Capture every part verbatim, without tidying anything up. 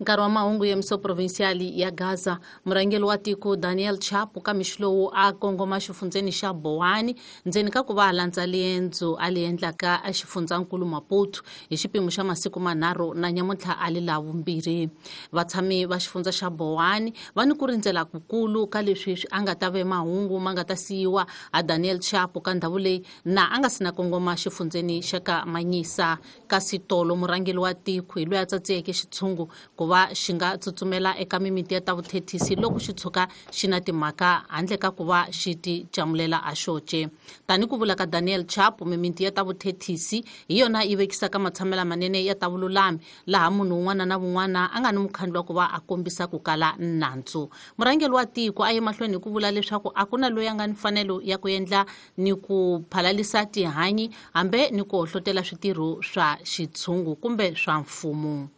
Nkarhi wa mahungu ya miso provincial ya Gaza, murhangeri wa tiko Daniel Chapo ka mixo lowu a kongoma xifundzeni xa Bowani ndzeni ka ku va a landza liendzo a li endlaka exifundzankulu Maputo hi xipimo xa masiku manharhu na nyamuntlha a li la vumbirhi. Vatshami va xifundza xa Bowani va ni ku rindzela kukulu ka leswi a nga ta ve mahungu ma nga ta siyiwa a Daniel Chapo ka ndhawu leyi na a nga si na kongoma xifundzeni xa ka Manyisa. Kasi tolo murhangeri wa tiko hi loyi a tsatsiyeke xitshungu ku va xi nga tsutsumela eka mimiti ya ta vuthethisi loko xi tshuka xi na timhaka handle ka ku va xi ti camulela a xoce. Tani ku vula ka Daniel Chapo, mimiti ya ta vuthethisi hi yona yi vekisaka matshamela manene ya ta vululami laha munhu un'wana na un'wana a nga ni mukhandlu wa ku va a kombisa ku kala nandzu. Murhangeri wa tiko a ye mahlweni hi ku vula leswaku a ku na loyi a nga ni mfanelo ya ku endla ni ku phalalisa tihanyi hambi ni ku hohlotela switirho swa xitshungu kumbe swa mfumo.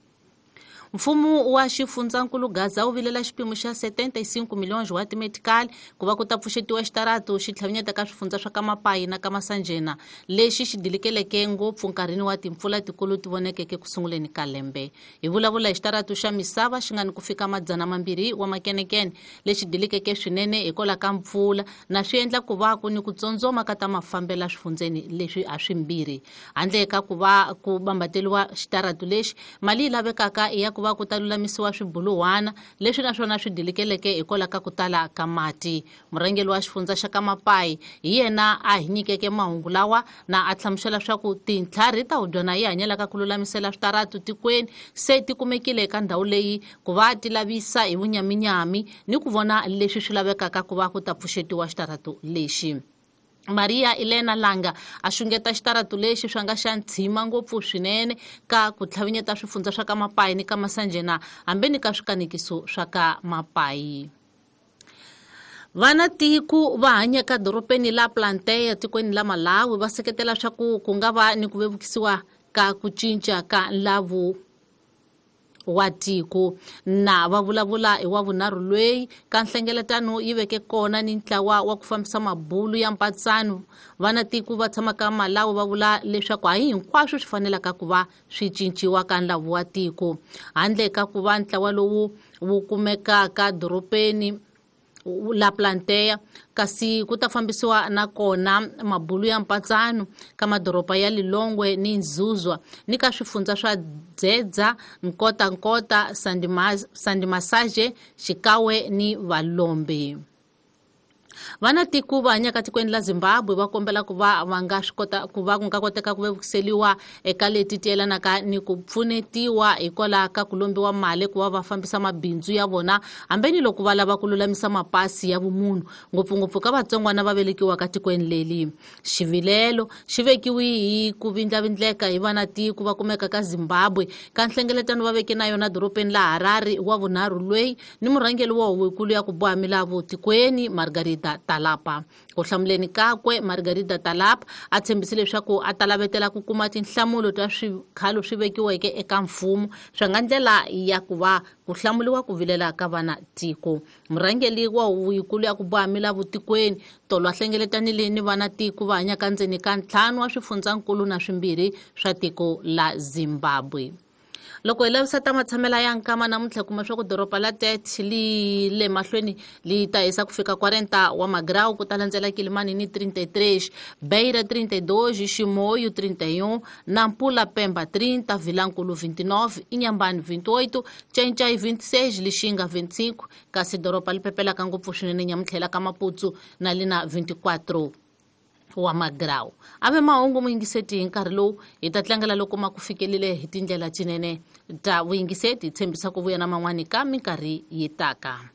Mfumo wa xifundzankulu Gaza wu vilela xipimo xa setenta e cinco milhões wa timedical ku va ku ta pfuxetiwa xitaratu xi tlhavinyeta ka swifundza swa ka Mapayi na ka Masanjena lexi xi dilikeleke ngopfu nkarhini wa timpfula tikulu ti vonekeke ku sunguleni ka lembe. Hi vulavula hi xitaratu xa misava xi nga ni ku fika madzana mambirhi wa makenekene lexi dilikeke swinene hikwalaho ka mpfula na swi endla ku va ku ni ku tsondzoma ka ta mafambela swifundzeni leswi a swimbirhi. Handle ka ku va ku bambateliwa xitaratu lexi, mali yi lavekaka i ya ku va ku ta lulamisiwa swibuluhwana leswi naswona swi dilikeleke hikwalaho ka ku tala ka mati. Murhangeri wa xifundza xa ka Mapayi hi yena a hi nyikeke mahungu lawa na a hlamusela swa ku tintlhari ta hubyana yi hanyelaka ku lulamisela switaratu tikweni se ti kumekile eka ndhawu leyi ku va ti lavisa hi vunyaminyami ni ku vona leswi swi lavekaka ku va ku ta pfuxetiwa xitaratu lexi. Maria Elena Langa a xungeta xitaratu lexi swa nga xa ntshima ngopfu swinene ka ku tlhavinyeta swifundza swa ka Mapayi ni ka Masanjena hambi ni ka swikanekiso swa ka Mapayi. Vana tiko va hanya ka doropeni la Planteya tikweni la Malawi va seketela swa ku ku nga va ni ku vevukisiwa ka ku cinca ka nlavu wa tiko. Na va vulavula hi wa vunharhu loyi ka nhlengeletano yi veke kona ni ntlawa wa ku fambisa mabulu ya mpatsano. Vana tiko va tshamaka Malawi va vula leswaku hayi hinkwaswo swi fanelaka ku va swi cinciwa ka nlavu wa tiko handle ka ku va ntlawa lowu wu kumekaka doropeni la Planteya, kasi ku ta fambisiwa na kona mabulu ya mpatsano ka madoroba ya Lilongwe ni Nzuzwa ni ka swifundza swa Dzedza, Nkota Nkota, Sandimasaje, Xikawe ni Valombe. Vana tiko va hanyaka tikweni la Zimbabwe va kombela ku va va nga swi kota ku va ku nga koteka ku vevukiseliwa eka leti ti yelanaka ni ku pfunetiwa hikwalaho ka ku lombiwa mali ku va va fambisa mabindzu ya vona hambi ni loko va lava ku lulamisa mapasi ya vumunhu ngopfungopfu ka vatsongwana va velekiwaka tikweni leli. Xivilelo xi vekiwe hi ku vindlavindleka hi vana tiko va kumeka ka Zimbabwe ka nhlengeletano va veke na yona doropeni la Harare wa vunharhu loyi ni murhangeri wa huvonkulu ya ku boha milawu tikweni Margarita Talapa. Ku hlamuleni kakwe Margarita Talapa a tshembise leswaku a ta lavetela ku kuma tinhlamulo ta swikhalo swi vekiweke eka mfumo swa nga ndlela ya ku va ku hlamuriwa ku vilela ka vana tiko. Murhangeri wa huvonkulu ya ku boha milawu tikweni tolo a hlengeletanile ni vana tiko va hanyaka ndzeni ka ntlhanu wa swifundzankulu na swimbirhi swa tiko la Zimbabwe. Loko hi lavisa ta matshamela ya nkama namuntlha kuma swa ku doroba la Tete li le mahlweni li ta hisa ku fika quarenta wa magrau ku ta landzela Kilimani ni trinta e três, Beira trinta e dois, Chimoio trinta e um, Nampula Pemba trinta, Vilanculo vinte e nove, Inhambane vinte e oito, Tchanchai vinte e seis, Lixinga vinte e cinco, kasi doroba li pepelaka ngopfu swinene nyamuntlha ka Maputo na li na vinte e quatro wa magrau. Ave mahungu muyingiseti hi nkarhi lowu hi ta tlangela loko ma ku fikelile hi tindlela tinene ta vuyingiseti hi tshembisa ku vuya na man'wani ka minkarhi yi taka.